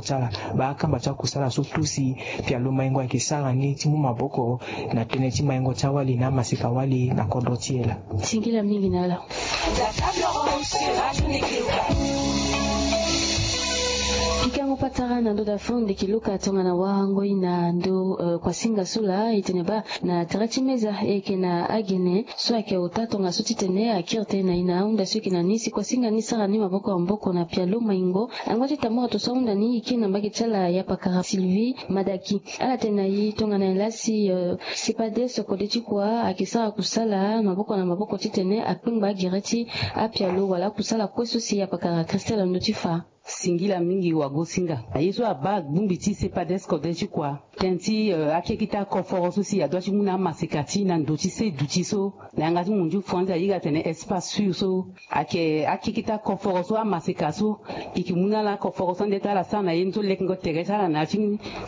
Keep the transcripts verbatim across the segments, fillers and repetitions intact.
Ti ala, baa akamba ti akusala so tout si pialo maingo ayeke sara ni ti mu maboko na tënë ti maingo ti awali na amaseka wali na kodro ti e laa. Singila mingi na ala. Pikango patara na ndo da fo ndeke luka tongana warango i na ndo, eh, kuasinga so laa e tene baa na tere ti meza e yeke na agene so ayeke ota tongaso titene akiri tënë na i na ahunda so e yeke na ni si kuasinga ni sara ni maboko ya maboko na pialo maingo. Angba ti tambara to so ahunda ni e kiri na mbage ti ala ya pakara Sylvie Madaki. Ala tene na i tongana nyen laa si, eh, Cepades kode ti kua ayeke sara kusala maboko na maboko titene akpengba agere ti apialo wala akusala kue so si ya pakara Christelle ando ti fa. Singila mingi wagosinga. Na ye so abaa bongbi ti Cepades kode ti kua, tënë ti, eh, akekita koforo so si adua ti mu na amaseka ti e na ndo ti se duti so, na yanga ti munzu fo ande ayeke tene espace sûr so. Ayeke akekita koforo so amaseka so e yeke mu na ala koforo so ande ti ala sara na ye ni so lekengo tere ti ala na ya ti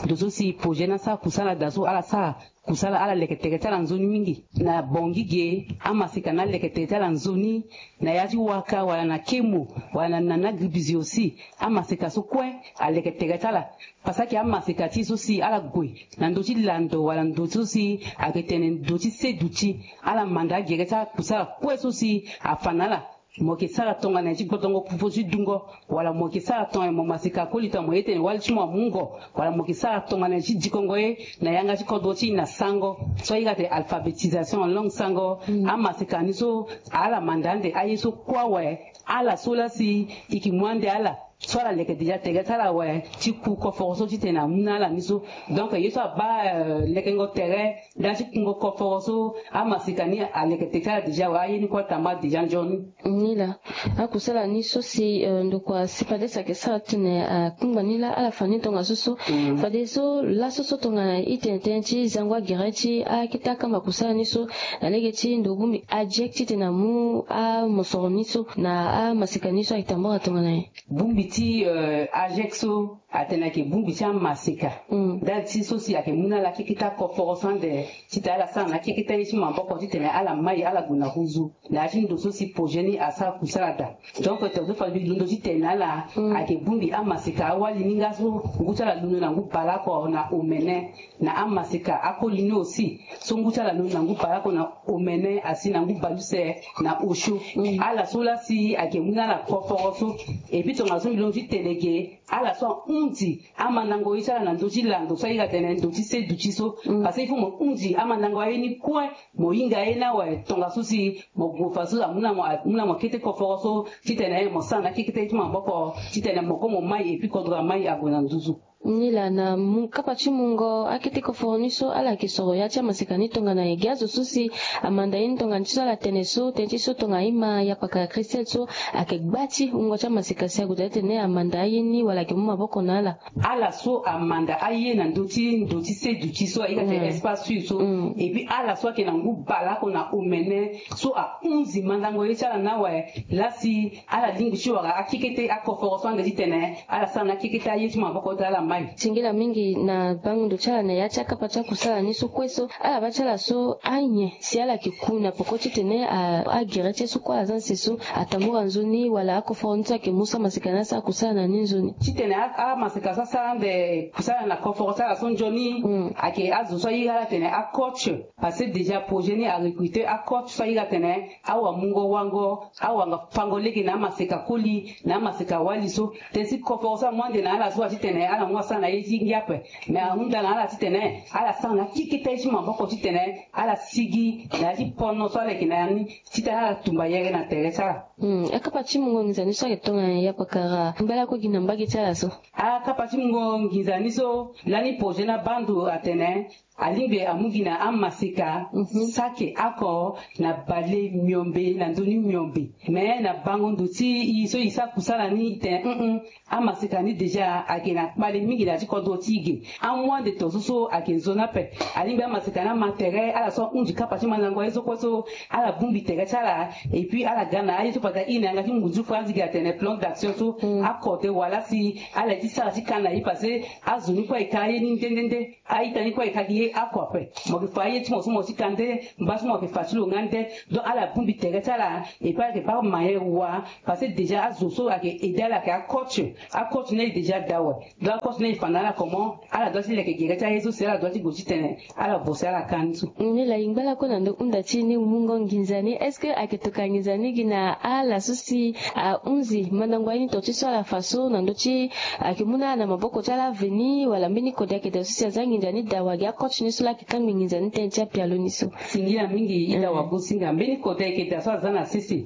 ndo so si projet ni asara kusala daa so ala sara kusala ala leke tere ti ala nzoni mingi. Na bongi ge amaseka ni aleke tere ti ala nzoni na ya ti waka wala na kemo wala na, na, na agribusi aussi. Amaseka so kue aleke tere ti ala. Parce que amaseka ti e so si ala gue na ndö ti lando wala ndö so si ayeke tene ndö ti se duti, ala manda agere ti ala kusala kue so si afa na ala. Mo yeke sara tongana nyen ti gbotongo popo ti dungo, wala mo yeke sara tongana nyen mo maseka koli tongana mo ye tene wali ti mo amungo, wala mo yeke sara tongana nyen ti dikongo ye na yanga ti kodro ti e na sango so ahiri atene alphabétisation en langue sango. Amaseka ni so ala manda ande aye so kue awe. Ala so laa si e yeke mu ande ala so ala leke déjà tere ti ala awe ti ku koforo so titene amu na ala ni so. Donc ye so abaa, euh, lekengo tere nda ti kungo koforo so amaseka ni aleke tere ti ala déjà awe, aye ni kue atamba déjà nzoni. Ni laa akusala ni so si, euh, ndokua Cepades ayeke sara titene akpengba ni laa ala fa ni tongaso so. Fadeso laso so tongana e tene tënë ti zango agere ti akete akamba kusala ni so na lege ti ndo bongbi AGEC titene amu amosoro ni so na amaseka ni so ayeke tambara tongana nyen? Bongbi ti, euh, AGEC so atene ayeke bongbi ti amaseka. Ndali ti so si ayeke mu na ala akeketa koforo so ande titene ala sara na akeketa ye ti maboko titene ala mai ala gue na huzu na ya ti ndo so si projet ni asara kusala daa. Donc tongaso fade mbi londo titene na ala ayeke bongbi amaseka awali ni nga so ngu ti ala londo na ngu baleoko na omene. Na amaseka akoli ni aussi so ngu ti ala londo na ngu baleoko na omene asi na ngu baleuse na osio. Ala so laa si ayeke mu na ala koforo so. Et puis tongaso mbi londo titene ge ala so ahunzi amandango ye ti ala na ndö ti lando so ahiri atene ndö ti se duti so. Parce que il faut mo hunzi amandango aye ni kue, mo hinga ye ni awe tongaso si mo gue fadeso amu na mo, amu na mo kete koforo so titene mo sara na akekete ye ti maboko titene mo kue mo mai et puis kodro amai ague na nduzu. Ni laa na mu kapa ti mungo akete koforo ni so ala yeke soro ya ti amaseka ni tongana nyen? Ge azo so si amanda ye ni tongana ti so ala tene so tënë ti so tongana ima ya pakara Christelle so ayeke gba ti wungo ti amaseka si ague daa titene amanda aye ni wala ayeke mu maboko na ala. Ala so amanda aye na ndö ti ndo ti se duti so ahiri atene espace sûr so. Et puis ala so ayeke na ngu baleoko na omene so ahunzi mandango ye ti ala ni awe laa si ala lingbi ti wara akekete akoforo so ande titene ala sara na akekete aye ti maboko ti ala mai. Singila mingi na bango ndo ti ala na ya ti akapa ti akusala ni so kue so ala baa ti ala so anyen si ala yeke ku na peko titene a, agere ti ye so kue ala za ni se so atambara nzoni wala akoforo ni so ayeke mu so amaseka ni asara kusala na ni nzoni. Titene a, amaseka so asara ande kusala na koforo ti ala so nzoni ayeke azo so ahiri ala tene acoach. Parce que déjà projet ni arecruter acoach so ahiri atene awamungo wango awanga fango lege na amaseka koli na amaseka wali so. Tënë ti koforo so amu ande na ala so atitene ala mu asara na ye ti ngia ape. Mais ahunda na ala titene ala sara na akeketa ye ti maboko titene ala sigi na ya ti pono so ala yeke na ya ni titene ala tumba yere na tere ti ala. Hmm, akapa ti mungo nginza ni so ayeke tongana nyen ya pakara mbela kue gi na mbage ti ala so? Akapa ti mungo nginza ni so lani projet ni abaa ndo atene alingbi amu gi na amaseka saki oko na bale miombe na ndoni miombe. Mais na bango ndo ti e so e sara kusala ni e tene, hum, hum, amaseka ni déjà ayeke na kpale Mingi na ya ti kodro ti e ge. Amu ande tongaso so ayeke nzoni ape. Alingbi amaseka ni ama tere ala so ahunzi kapa ti mandango aye so kue so ala bongbi tere ti ala. Et puis ala ga na aye so fade aye na yanga ti ngunzu fo anzigi atene plan d'action so akode wala si ala ye ti sara ti ka na ye parce que azo ni kue ayeke ka aye ni nde nde nde. A-ita ni kue e ka gi ye ako ape. Mo yeke fa aye ti mo so mo ti ka nde, mba so mo yeke fa ti lo nga nde. Donc ala bongbi tere ti ala. Et puis ala yeke baa manière wa. Parce que déjà azo so ayeke aidé ala ayeke acoach. Acoach ni aye déjà daa awe. Donc acoach ni aye fa na ala comment ala doit ti leke gere ti aye so si ala doit ti gue titene ala bosse ala ka ni so. Ni la e ngba lakue na ndo hunda ti e ni mungo nginza ni. Est-ce que ayeke tokua nginza ni gi na ala so si ahunzi mandango aye ni tonga ti so ala fa so na ndö ti ayeke mu na ala na maboko ti ala aveni wala mbeni kode ayeke daa so si aza nginza ni daa wa gi acoach ni so laa ayeke kangbi nginza ni tënë ti apialo ni so? Singila mingi ita wagosinga. Mbeni kode ayeke daa so aza na sese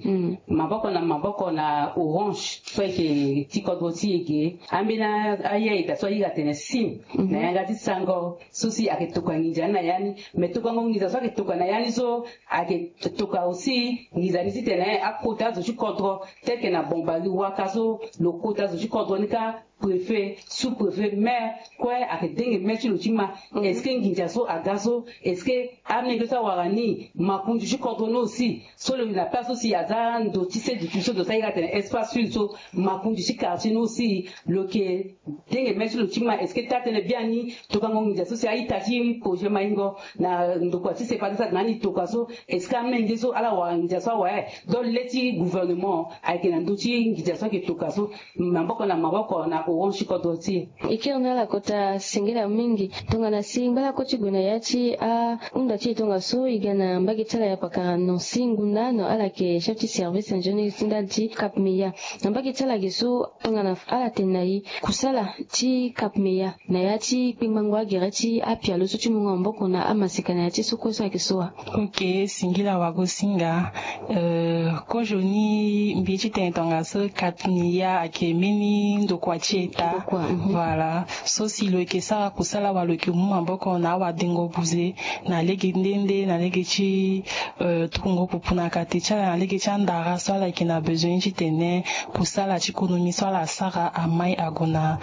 maboko na maboko na Orange so ayeke ti kodro ti e ge. Ambeni aye ayeke daa so ahinga atene sim na yanga ti sango so si ayeke tokua nginza ni na ya ni. Me tokuango nginza so ayeke tokua na ya ni so ayeke tokua aussi nginza ni titene akota azo ti kodro tel que na Bombali waka so lo kota azo ti kodro ni kâ, préfet, sous-préfet, maire kue ayeke denge maire ti lo ti ma. Est-ce que nginza so aga so? Est-ce que amenge so awara ni makonzi ti kodro ni aussi so lo yeke na place so si aza ndo ti sede ti so ndo so ahinga atene espace sud so makonzi ti quartier ni aussi lo yeke denge maire ti lo ti ma? Est-ce que taa tënë biani tokango nginza so si a-ita ti projet maingo na ndokua ti sepa ti sara na ni tokua so? Est-ce que amenge so ala wara nginza so awe? Donc le ti gouvernement ayeke na ndö ti nginza so ayeke tokua so. Maboko na maboko na Orange ti kodro ti e. E kiri na ala kota singila mingi. Tongana si ngbalako ti gue na ya ti ahunda ti e tongaso e ga na mbage ti ala ya pakara Nancy Ngunda, non, ala yeke chef ti service ingénieur ti ndali ti Cap Meya. Na mbage ti ala ge so tongana ala tene na e kusala ti Cap Meya na ya ti kpengbango agere ti apialo so ti mungo maboko na amaseka na ya ti so kue so ayeke so wa? Ok, singila wagosinga. Euh, kozoni mbi ye ti tene tongaso Cap Meya ayeke mbeni ndokua ti État. Voilà. So si lo yeke sara kusala wala lo yeke mu maboko na awadengo buze na lege nde nde na lege ti, euh, tukungo pupu na kate ti ala na lege ti andara so ala yeke na besoin ti tene kusala ti konomi so ala sara amai ague na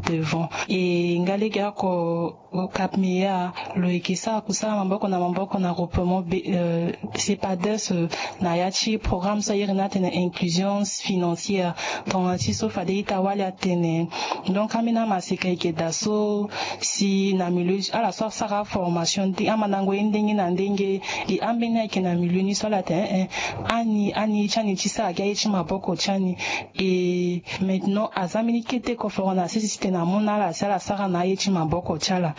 devant. E nga lege oko Cap Meya lo yeke sara kusala maboko na maboko na groupement be, euh, CEPADES, euh, na ya ti programme so a iri ni atene inclusion financière. Tongana ti so fade ita wali atene. Donc ambeni amaseka yeke daa so si na milieu ala so asara formation ti amandango ye ndenge na ndenge. E ambeni ayeke na milieu ni so ala tene, eh, eh, ani ani ti ani ti sara gi aye ti maboko ti ani. E maintenant aza mbeni kete koforo na sese titene amu na ala si ala sara na aye ti maboko ti ala.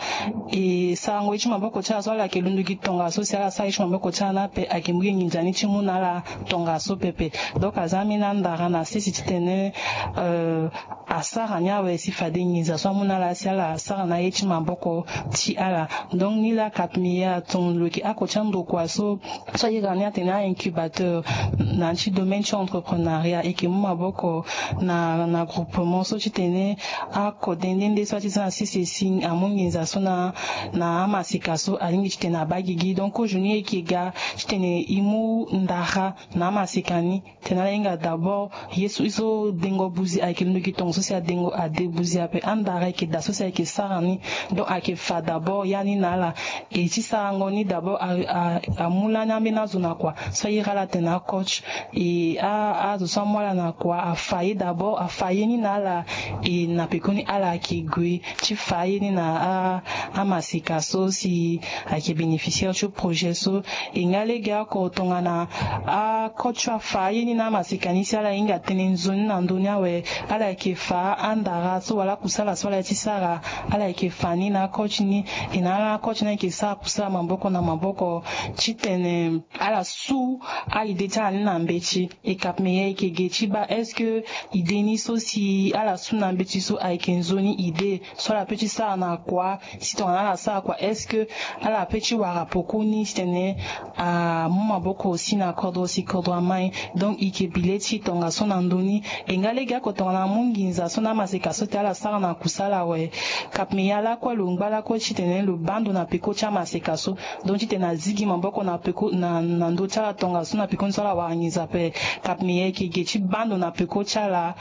E sarango ye ti maboko ti ala so ala yeke londo gi tongaso si ala sara ye ti maboko ti ala ni ape ayeke mu gi nginza ni ti mu na ala tongaso pepe. Donc aza ambeni andara na sese titene, euh, asara ni awe si fade nginza so amu na ala si ala sara na aye ti maboko ti ala. Donc ni laa Cap Meya atongo lo yeke ako ti andokua so so a iri ni atene a-incubateur na ya ti domaine ti entrepreneuriat. E yeke mu maboko na na groupement so titene akode nde nde so a ti za na sese si amu nginza so na na amaseka so alingbi titene abaa gigi. Donc kozoni e yeke ga titene e mu ndara na amaseka ni. Tena ala hinga d'abord ye so ye so dengo buzi ayeke londo gi tongo so si adengo ade buzi ape andara ayeke daa so si ayeke sara ni. Donc ayeke fa d'abord ya ni na ala. E ti sarango ni d'abord a a amu lani ambeni azo na kua so a iri ala atene acoach. E a azo so amu ala na kua afa ye d'abord afa ye ni na ala. E na pekoni ala ayeke gue ti fa ye ni na a amaseka so si ayeke bénéficiaire ti projet so. E nga lege oko tongana acoach so afa ye ni na amaseka ni si ala hinga tënë nzoni na ndö ni awe. Ala yeke fa andara so wala akusala so ala ye ti sara. Ala yeke fa ni na acoach ni. E na ala acoach ni ayeke sara kusala maboko na maboko titene ala su a-idée ti ala ni na mbeti. E Cap Meya e yeke ge ti baa est-ce que idée ni so si ala su na mbeti so ayeke nzoni idée so ala pe ti sara na kua? Si tongana ala sara kua est-ce que ala pe ti wara pekoni titene amu maboko aussi na kodro si kodro amai? Donc e yeke bi le ti tongaso na ndö ni. E nga lege oko tongana amu nginza so na amaseka so titene ala sara na kusala awe. Cap Meya lakue lo ngba lakue titene lo baa ndo na peko ti amaseka so. Donc titene azigi maboko na peko na na ndö ti ala tongaso na pekoni so ala wara nginza ape. Cap Meya e yeke ge ti baa ndo na peko ti ala.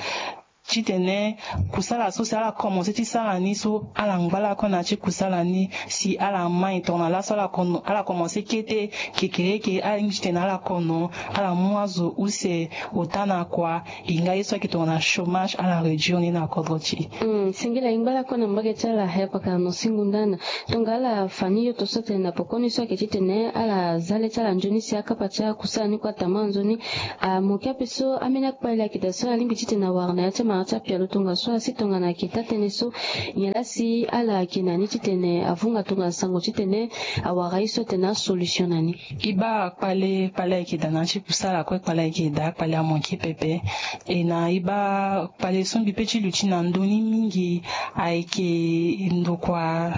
titene kusala so si ala komanse ti sara ni so ala ngba lakue na ya ti kusala ni si ala mai tongana laso ala kon- ala komanse kete kekereke, ala lingbi titene ala kono ala mu azo use ota na kua. E nga ye so ayeke tongana chômage ala réduire ni na kodro ti e. Hmm, singila e ngba lakue na mbage ti ala, eh, pakara Nancy Ngundana. Tongana ala fa ni yo to so atene na pekoni so ayeke titene ala za le ti ala nzoni si akapa ti akusala ni kue atama nzoni. Amoke ape so ambeni akpale ayeke daa so alingbi titene awara na ya ti amara ti apialo tongaso asi tongana ayeke taa tënë so nyen laa si ala yeke na ni titene avunga tongana sango titene awara ye so atene asolution na ni. E baa kpale kpale ayeke daa na ya ti kusala kue, kpale ayeke daa kpale amoke pepe. E na e baa kpale so mbi pe ti luti na ndö ni mingi ayeke ndokua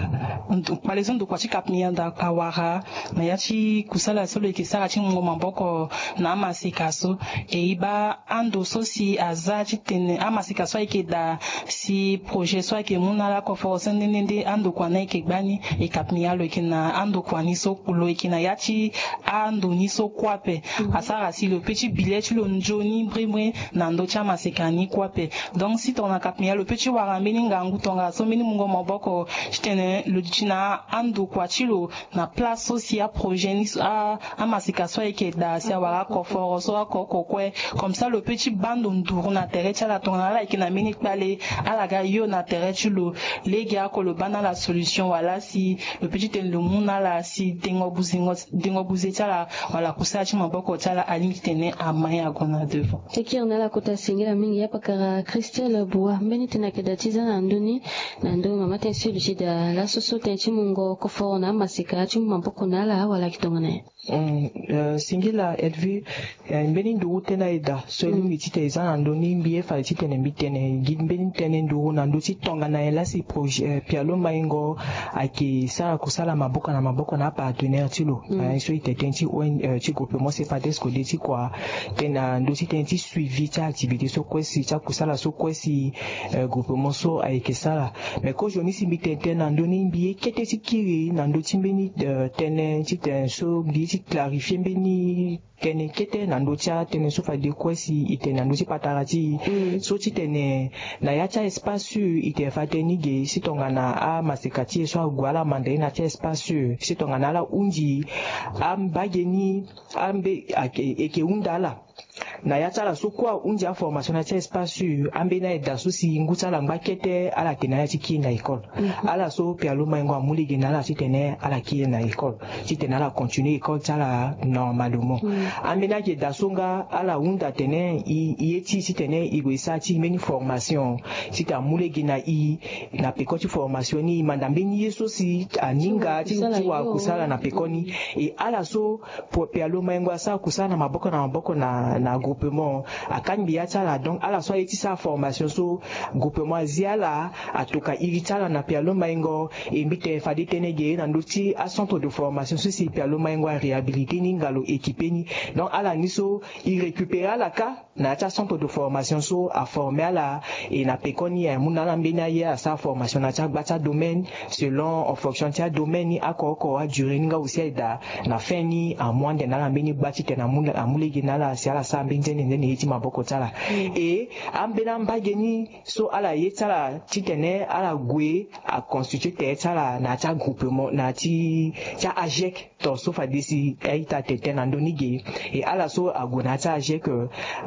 ndo- kpale so ndokua ti Cap Mianda awara na ya ti kusala so lo yeke sara ti mungo maboko na amaseka so. E e baa ando so si aza titene amaseka so ayeke daa si projet so ayeke mu na ala koforo so nde nde nde andokua ni ayeke gbani. E Cap Mianda lo yeke na andokua ni so lo yeke na ya ti ando ni so kue ape. Asara si lo pe ti bi le ti lo nzoni mbrimbri na ndö ti amaseka ni kue ape. Donc si tongana Cap Mianda lo pe ti wara mbeni ngangu tongaso mbeni mungo maboko titene lo duti na andokua ti lo na place so si aprojet ni so a- amaseka so ayeke daa si awara akoforo so oko oko kue. Comme ça lo pe ti baa ndo nduru na tere ti ala tongana ala yeke na mbeni kpale, ala ga yo na tere ti lo. Lege oko lo baa na ala solution wala si lo pe ti tene lo mu na ala si dengo buzengo dengo buze ti ala wala kusala ti maboko ti ala alingbi titene amai ague na devant. E kiri na ala kota singila mingi ya pakara Christelle Boua. Mbeni tënë ayeke daa ti za na ndö ni na ndö mama tënë so e luti daa laso so tënë ti mungo koforo na amaseka ti mu maboko na ala wala ayeke tongana nyen? Mm, eh, singila Elvie, eh, mbeni nduru tënë aye daa so e lingbi titene e za na ndö ni, mbi ye fade titene mbi tene gi mbeni tënë nduru na ndö ti tongana nyen laa si projet, eh, Pialo Maingo ayeke sara kusala maboko na maboko na apartenaire ti lo. Eh, so e tene tënë ti O N, eh, ti groupement CEPADES kode ti kua tënë na ndö ti tënë ti suivi ti activité so kue si ti akusala so kue si, eh, groupement so ayeke sara. Mais kozoni si mbi tene tënë na ndö ni mbi ye kete ti kiri na ndö ti mbeni, eh, tënë ti tene so mbi ye ti clarifier mbeni tënë kete na ndö ti atënë so fade kue si e tene na ndö ti patara ti e. So titene na ya ti a-espace sûr e tene fade tënë ni ge si tongana amaseka ti e so ague ala manda ye na ya ti a-espace sûr si tongana ala hunzi ambage ni ambe ake- eke hunda ala. Na ya ti ala so kue ahunzi aformation na ya ti espace sûr ambeni aye daa so si ngu ti ala ngba kete ala yeke na ala ti kiri na école. Ala so Pialo Maingo amu lege na ala titene ala kiri na école titene ala continuer école ti ala normalement. Ambeni ayeke daa so nga ala hunda atene e- e ye ti e titene e gue e sara ti e mbeni formation titene amu lege na e na peko ti formation ni e manda mbeni ye so si aninga ti ti wara kusala na peko ni. E ala so Pialo Maingo asara kusala na maboko na maboko na na groupement akangbi ya ti ala. Donc ala so aye ti sara formation so groupement azi ala atoka iri ti ala na Pialo Maingo. E mbi tene fade tënë ge na ndö ti acentre de formation so si Pialo Maingo aréhabilité ni nga lo équipe ni. Donc ala ni so e récupérer ala kâ na ya ti acentre de formation so aformer ala. E na pekoni amu na ala mbeni aye asara formation na ya ti agba ti adomaine selon en fonction ti adomaine ni oko oko adurée ni nga aussi aye daa. Na fin ni amu ande na ala mbeni gba titene amu lege na ala si ala sara mbeni nzene nzene ye ti maboko ti ala. E ambeni ambage ni so ala ye ti ala titene ala gue aconstituer tere ti ala na ya ti agroupement na ya ti ti a-agec. To so fade si a-ita atene tënë na ndö ni ge. E ala so ague na ya ti a-agec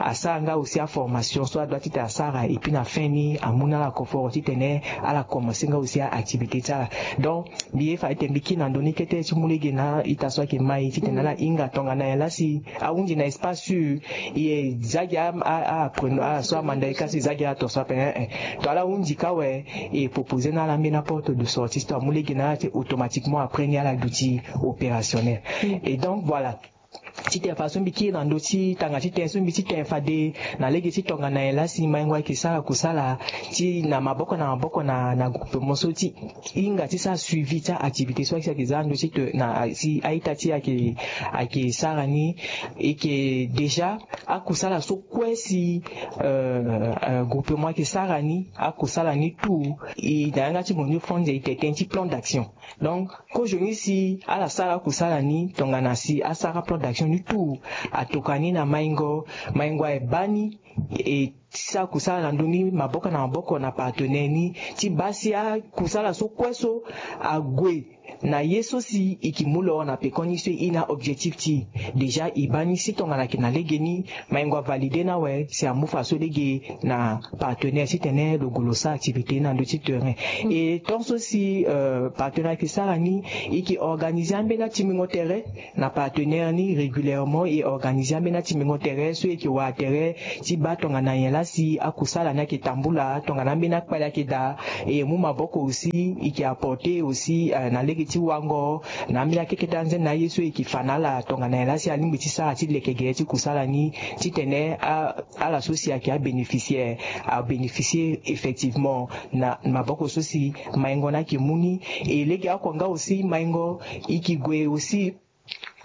asara nga aussi aformation so adoit titene asara et puis na fin ni amu na ala confort titene ala commencer nga aussi a-activité ti ala. Donc mbi ye fa ete mbi kiri na ndö ni kete ti mu lege na a-ita so ayeke mai titene ala hinga tongana nyen laa si ahunzi na espace sûr e za gi a- a- a- apprenant ala so amanda e ka si e za gi ala to so ape. To ala hunzi kâ awe e proposer na ala ambeni aporte de sortie so amu lege na ala ti automatiquement après ni ala duti opérationnel. Et donc voilà. Titene fa so mbi kiri na ndö ti tanga titene so mbi titene fade na lege ti tongana nyen laa si Maingo ayeke sara kusala ti na maboko na maboko na na groupement so ti hinga ti sara suivi ti a-activité so ayeke za na ndö ti to na si a-ita ti e ayeke ayeke sara ni. E yeke déjà akusala so kue si euh, euh, groupement ayeke sara ni akusala ni tout. E na yanga ti mo ni fo nze e tene tënë ti plan d'action. Donc kozoni si ala sara akusala ni tongana si asara plan d'action ni tout atoka ni na Maingo. Maingo aye baa ni e ti sara kusala na ndö ni maboko na maboko na partenaire ni ti baa si akusala so kue so ague na ye so si e ke mu lo na pekoni so e na objectif ti e. Déjà e baa ni si tongana ayeke na legeni, maingo avalide ni awe si amu fa so lege na partenaire titene lo gue lo sara activité na ndö ti terrain. Et tant so si partenaire ayeke sara ni, e ke organiser ambeni atimbingo tere na partenaire ni régulièrement, e organiser ambeni atimbingo tere so e ke wara tere ti baa tongana nyen laa si akusala ni ayeke tambula, tongana ambeni akpali ayeke daa. E mu maboko aussi, e ke apporter aussi na lege ti wango na ambeni akekete anzene na aye so e ke fa na ala tongana nyen laa si alingbi ti sara ti leke gere ti kusala ni, titene ala so si ayeke abénéficiaire abénéficier effectivement na maboko so si maingo ni ayeke mu ni. E legeoko nga aussi maingo e ke gue aussi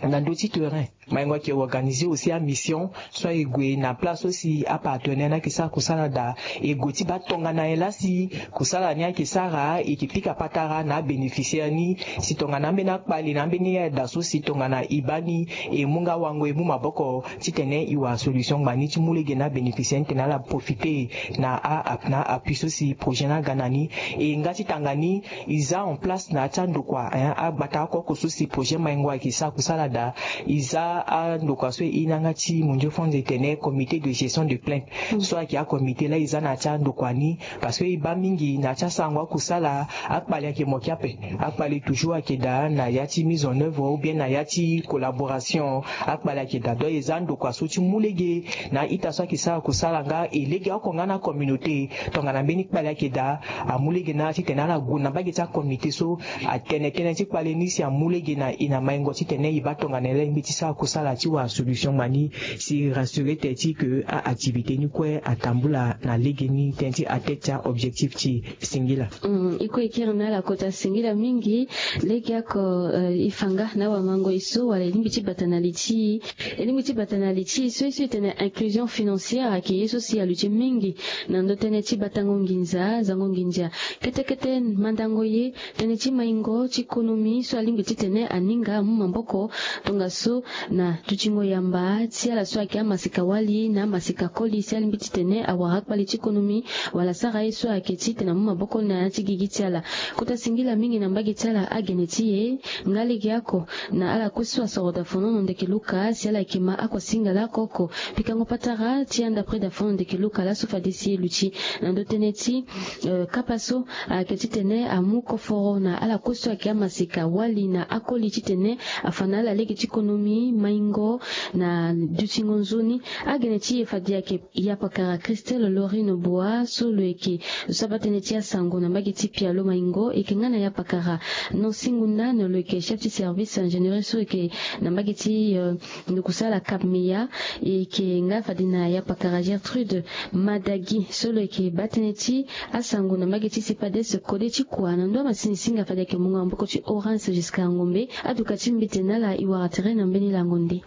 na ndö ti terrain. Maingo ayeke organiser aussi amission so aye gue na place so si apartenaire ni ayeke sara kusala daa. E gue ti baa tongana nyen laa si kusala ni ayeke sara, e ke pika patara na abénéficiaire ni si tongana ambeni akpali na ambeni ayeda so si tongana e baa ni, e mu nga wango e mu maboko titene e wara solution ngbani ti mu lege na abénéficiaire ni titene ala profiter na a na appui so si projet ni aga na ni. E nga ti tanga ni, e za en place na ya ti andokua, hein, agbata oko oko so si projet maingo ayeke sara kusala daa. E za andokua so e na yanga ti mondio fond etene comité de gestion de plainte so ayeke acomité laa e za na ya ti andokua ni. Parce que e baa mingi na ya ti asarango akusala, akpali ayeke moki ape. Akpali toujours ayeke daa na ya ti mise en œuvre ou bien na ya ti collaboration. Akpali ayeke daa, donc e za andokua so ti mu lege na a-ita so ayeke sara kusala nga e legeoko nga na acommunauté. Tongana mbeni kpali ayeke daa, amu lege na ala titene ala gue na mbage ti acomité so atene tënë ti kpali ni si amu lege na e na maingo titene e baa tongana e lingbi ti sara kusala ti wara solution ngbani si e rassurer tene ti e ke a-activité ni kue atambula na legeni tënë ti atteindre ti a-objectif ti e. Singila. Mm, e kue e kiri na ala kota singila mingi. Legeoko, eh, e fa nga na awamango e so wala e lingbi ti bata na li ti e. E lingbi ti bata na li ti e so e so e tene inclusion financière ayeke ye so si aluti mingi na ndö tënë ti batango nginza, zango nginza. Kete kete mandango ye tënë ti maingo ti konomi so alingbi titene aninga amu maboko tongaso na dutingo yamba ti ala so ayeke amaseka wali na amaseka koli si alingbi titene awara akpali ti konomi wala asara ye so ayeke titene amu maboko na ya ti gigi ti ala. Kota singila mingi na mbage ti ala agene ti e nga legeoko na ala kue so asoro daa fono na ndeke luka si ala yeke ma akuasinga laa oko oko. Pikango patara ti anda près daa fono na ndeke luka laso fade si e luti na ndö tënë ti, eh, kapa so ayeke titene amu koforo na ala kue so ayeke amaseka wali na akoli titene afa na ala lege ti konomi maingo na dutingo nzoni. Agene ti e fade ayeke ya pakara Christelle Laurine Boa so lo yeke so abaa tënë ti asango na mbage ti pialo maingo. E yeke nga na ya pakara Nancy Ngundane lo yeke chef ti service ingénierie so yeke na mbage ti, eh, ndokusala Cap Meya. E yeke nga fade na ya pakara Gertrude Madagi so lo yeke baa tënë ti asango na mbage ti CEPADES kode ti kua na ndo amasini singa fade ayeke mungo maboko ti Horace Giscard Ngombe. Aduka ti mbi tene na ala e wara tere na mbeni lango nde.